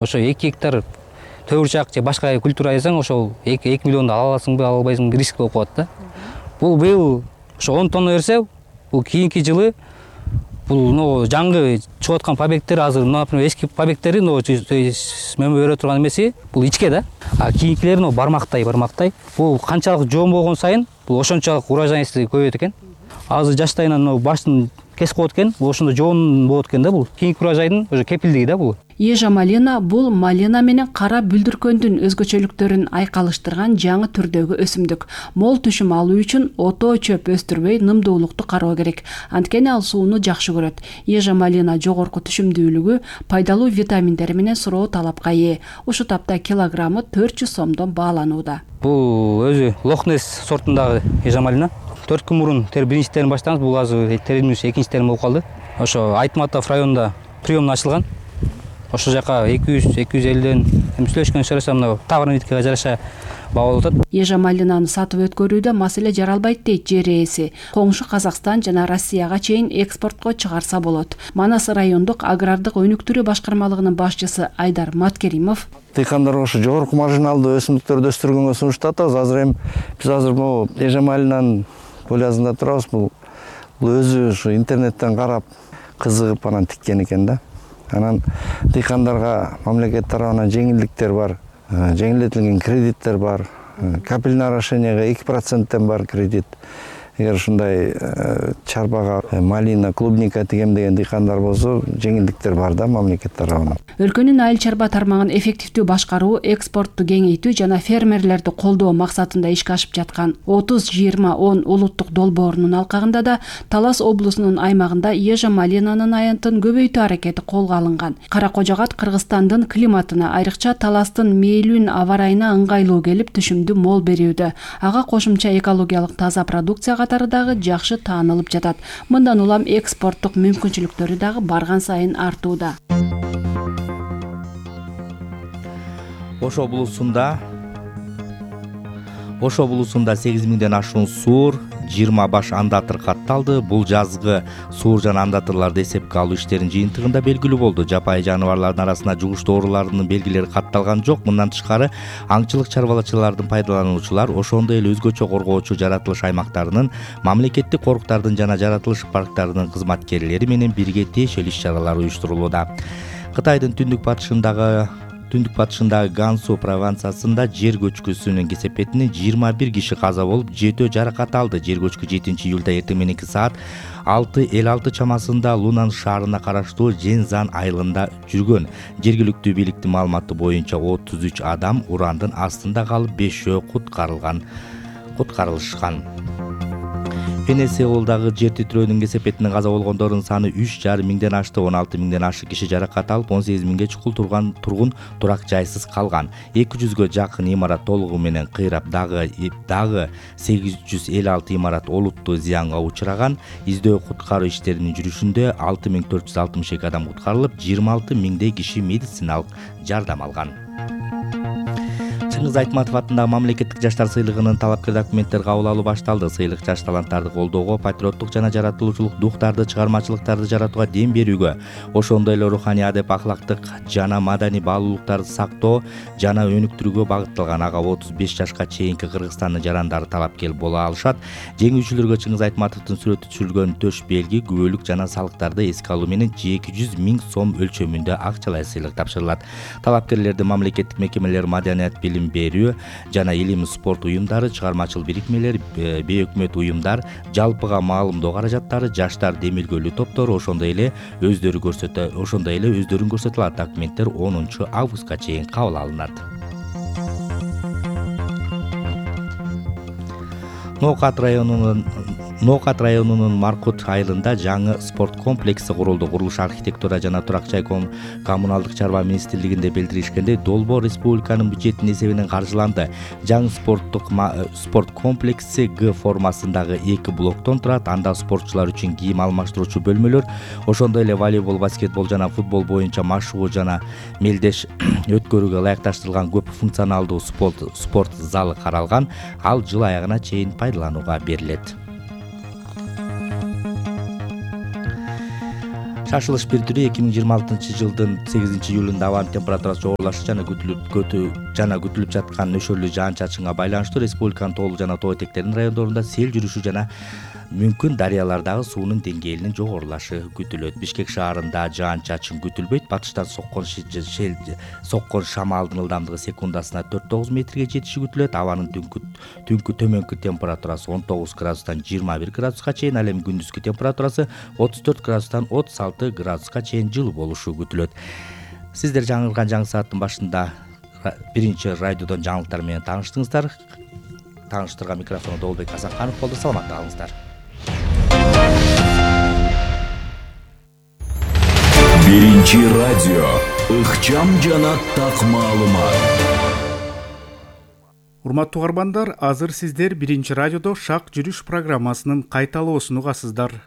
Ошо 2 гектар төбүрчак же башка культура айсаң, ошол 2 миллионду ала аласыңбы, ала албайсыңбы, риск болуп калат да. Бул быйыл ошо 10 тонна берсе, бул кийинки жылы бул жаңы чыгып аткан побегттер азыр, например, эски побегттери мөмө бере турган эмеси бул ичке да. А кийинкилери бармактай. Бул канчалык жоон болгон сайын бул ошончолук урожайности көбөйөт экен. Азыр жаштайынан баштын кесип коет экен, бул ошондо жоон болот экен да, бул кийинки урожайдын уже кепилдиги да бул. Ежа малина бул малина менен кара бүлдүркөндүн өзгөчөлүктөрүн айкалыштырган жаңы түрдөгү өсүмдүк. Мол түшүм алуу үчүн ото чөп өстүрбөй нымдуулукту кароо керек. Анткени ал сууну жакшы көрөт. Ежа малина жогорку түшүмдүүлүгү, пайдалуу витаминдери менен суроо талапка ээ. Ушул тапта килограммы 400 сомдон бааланууда. Бул өзү Лохнес сортундагы ежа малина. 4 күн мурун биринчи терим баштаганбыз, бул азыр теримибиз экинчи терим болуп калды. Ошо Айтматов районунда приемна ачылган. Ошол жака 200-250ден сүйлөшкөн сурасам, товарникага жараша баа болуп атат. Ежа малинаны сатып өткөрүүдө маселе жаралбайт дейт жер ээси. Коңшу Казакстан жана Россияга чейин экспортко чыгарса болот. Манас райондук агрардык өнүктүрүү башкармалыгынын башчысы Айдар Маткеримов: Дыйкандарга ошо жогорку маржиналдуу өсүмдүктөрдү өстүргөнгө сунуштап атабыз. Азыр биз могу ежа малинанын полязында турабыз. Бул өзү ушу интернеттен карап кызыгып анан тиккен экен да. Анан дыйкандарга мамлекет тарабынан жеңилдиктер бар, жеңилдетилген кредиттер бар. Капельное орошенияга 2%тен бар кредит. Эгер ушундай чарбага малина, клубника тигемдеген дыйкандар болсо, жеңилдиктер бар да мамлекет тарабынан. Өлкөнүн айыл чарба тармагын эффективдүү башкаруу, экспортту кеңейтүү жана фермерлерди колдоо максатында ишке ашып жаткан 30-20-10 улуттук долбоорунун алкагында да Талас облусунун аймагында ежа малинанын аянтын көбөйтүү аракети колго алынган. Кара Кожогат Кыргызстандын климатына, айрыкча Таластын мээлүүн аба ырайына ыңгайлуу келип, түшүмдү мол берүүдө. Ага кошумча экологиялык таза продукция катары дагы жакшы таанылып жатат. Мындан улам экспорттук мүмкүнчүлүктөрү дагы барган сайын артууда. Ошо булусунда 8000ден ашуун суур, 20 баш андатыр катталды. Бул жазгы суур жана андатырларды эсепке алуу иштеринин жыйынтыгында белгилүү болду. Жапайы жаныбарлардын арасында жугуштуу оорулардын белгилери катталган жок. Мындан тышкары аңчылык чарбачылыктын пайдалануучулар ошондой эле өзгөчө коргоочу жаратылыш аймактарынын, мамлекеттик коруктардын жана жаратылыш парктарынын кызматкерлери менен бирге тиешелүү иш-чаралар уюштурулууда. Кытайдын түндүк батышындагы Гансу провинциясында жер көчкүсүнүн кесепетинен 21 киши каза болуп, 7 жаракат алды. Жер көчкү 7-июлда эртең мененки саат 6:56 чамасында Лунан шаарына караштуу Жензан айылында жүргөн. Жергиликтүү бийликтин маалыматы боюнча 33 адам урандын астында калып, 5 куткарылышкан. Венесуэладагы жер титирөөнүн кесепетинен каза болгондордун саны 3,5 миңден ашты. 16 миңден ашык киши жаракат алып, 18 миңге чукул тургун турак жайсыз калган. 200гө жакын имарат толугу менен кыйрап, дагы 856 имарат олуттуу зыянга учураган. Издөө куткаруу иштеринин жүрүшүндө 6462 адам куткарылып, 26 миңдей киши медициналык жардам алган. Чыңгыз Айтматов атындагы мамлекеттик жаштар сыйлыгынын талапкер документтер кабыл алуу башталды. Сыйлык жаш таланттарды колдоого, патриоттук жана жаратылуучулук духтарды, чыгармачылыктарды жаратууга дем берүүгө, ошондой эле руханий адеп акылактык жана маданий баалуулуктарды сактоо жана өнүктүрүүгө багытталган. Ага 35 жашка чейинки Кыргызстандын жарандары талапкер боло алышат. Жеңүүчүлөргө Чыңгыз Айтматовдун сүрөтү түшүрүлгөн төш белги, күбөлүк жана салыктарды эске алуу менен 200 миң сом өлчөмүндө акчалай сыйлык тапшырылат. Талапкерлерди мамлекеттик мекемелер, маданият, билим берүү жана илим спорт уюмдары, чыгармачыл бирикмелер, бейөкмөт уюмдар, жалпыга маалымдоо каражаттары, жаштар демилгөлүү топтору, ошондой эле өздөрүн көрсөтө алат. Документтер 10 августка чейин кабыл алынат. Ноокат районунун Маркут айылында жаңы спорт комплекси курулду. Курулуш архитектура жана турак жай коммуналдык чарба министрлигинде билдиришкендей, долбоор республиканын бюджетинин эсебинен каржыланды. Жаңы спорт комплекси Г формасындагы 2 блоктон турат. Анда спортчулар үчүн кийим алмаштыруучу бөлмөлөр, ошондой эле волейбол, баскетбол жана футбол боюнча машыгуу жана мелдеш өткөрүүгө ылайыкташтырылган көп функционалдуу спорт залы каралган. Ал жыл аягына чейин пайдаланууга берилет. Шашылыш бир түрү 2026-жылдын 8-июлунда абанын температурасы жогорулашы жана күтүлүп жаткан нөшөрлүү жаан-чачынга байланыштуу республиканын тоолуу жана тоо этектеринин райондорунда сел жүрүшү жана мүмкүн дарыялардагы суунун деңгээлинин жогорулашы күтүлөт. Бишкек шаарында жаан-чачын күтүлбөйт. Батыштан соккон шамалдын ылдамдыгы секундасына 4-9 метрге жетиши күтүлөт. Абанын түнкү төмөнкү температурасы 19 градустан 21 градуска чейин, ал эми күндүзкү температурасы 34 градустан 36 градуска чейин жылуу болушу күтүлөт. Сиздер жаңырган жаңы сааттын башында биринчи радиодон жаңылыктар менен тааныштыңыздар. Тааныштырган микрофону Долбек Асанканов болду. Саламатта калыңыздар. Биринчи радио ыкчам жана так маалымат. Урматтуу угармандар, азыр сиздер биринчи радиодо шак жүрүш программасынын кайталоосун угасыздар.